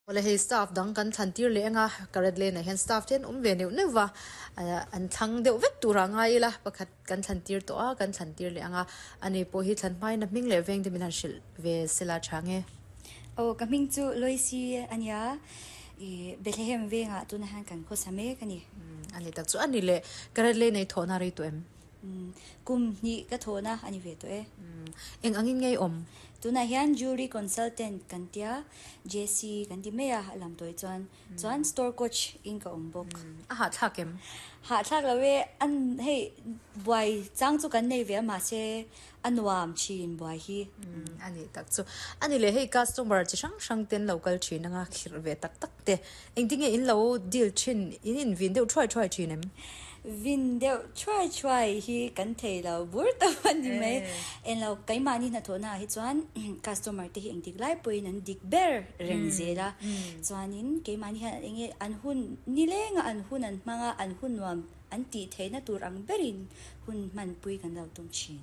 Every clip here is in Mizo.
Awle hei staff dang kan thlan tir leh anga Carat Lane ah hian staff te an awm ve neuh neuh va an thlang deuh vek tur ah ngai ila pakhat kan thlan tir tawh a kan thlan tir leh anga ani pawh hi thlan hmain a hming leh veng te min han hrilh ve sela tha nge. Aw ka hming chu Loisi a nia ih Bethlehem vengah tunah hian kan khawsa mek a ni. Ani tak chu ani leh Carat Lane ei thawhna rei tawh em? Kum hnih ka thawhna a ni ve tawh e. Eng angin ngei awm? Tunah hian Jewelry Consultant kan tia, JC kan ti mai a, a lam tawi chuan. Chuan Store Coach in ka awm bawk. A hahthlak em? Hahthlak lo e, an hei buai chang chu kan nei ve a mahse a nuam thin buai hi. A nih tak chu. A ni leh hei customer chi hrang hrang ten lo kal thin anga khirh ve tak tak te. Engtin nge in lo deal thin, in in vin deuh thuai thuai thin em? Vin deuh thuai thuai hi kan thei lo bur tawp a ni mai. Eng lo, keimahni hnathawhna ah hi chuan customer te hi engtik lai pawhin an dik ber reng zel a. Chuanin keimahni hian eng nge an hun nileng a an hun an hmang a, an hun nuam an tih theihna tur ang berin hun hmanpui kan lo tum thin.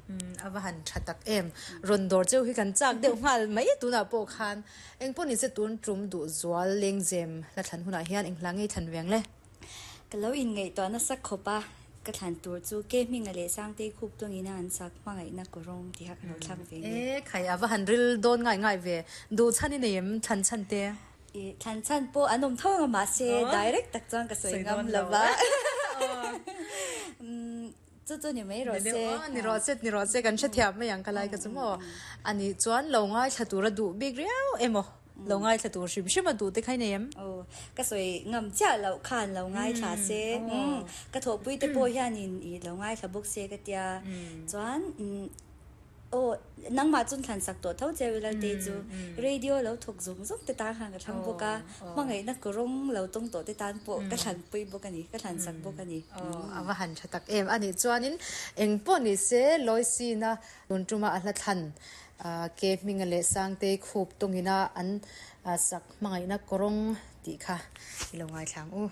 A va han tha tak em! Rawn dawr cheu hi kan chak deuh nghal mai tunah pawh khan. Eng pawh nise tun tum duh zual lengzem la thlan hunah hian eng hla ngei thlan veng le? Ka lo inngaihtuah nasa khawp a, ka thlan tur chu Ke Hminga leh Sangtei khup tawngina an sak hmangaihna kawrawng tih kha ka lo thlak ve nge. E khai a va han ril dawn ngai ngai ve, duh chhan i nei em thlan chhan te? I thlan chhan pawh an awm tho ang a mahse direct tak chuan ka sawi ngam lo va. Chu chu ni mai rawh se. Ni rawh se, ni rawh se, kan hrethiam mai ang ka lai ka chu maw. Ani chuan lo ngaithla tur a duh bik riau emaw, lo ngaithla tur hrim hrim a duh te kha i nei em? Aw, ka sawi ngam chiah loh khan lo ngaithla se, ka thawhpui te pawh hianin i lo ngaithla bawk se ka tia. Chuan Aw, nangmah chun thlan sak tawh tho che Wilalte chu radio lo thawk zawng zawng te tan khan ka thlang bawk a, hmangaihna kawrawng lo tawng tawh te tan pawh ka thlan pui bawk a ni, ka thlan sak bawk a ni. Aw, a va han tha tak em. A nih chuanin eng pawh ni se Loisina tun tuma a hla thlan ke hminga leh Sangtei khup tawngina an sak hmangaihna kawrawng tih kha i lo ngaithla ang u.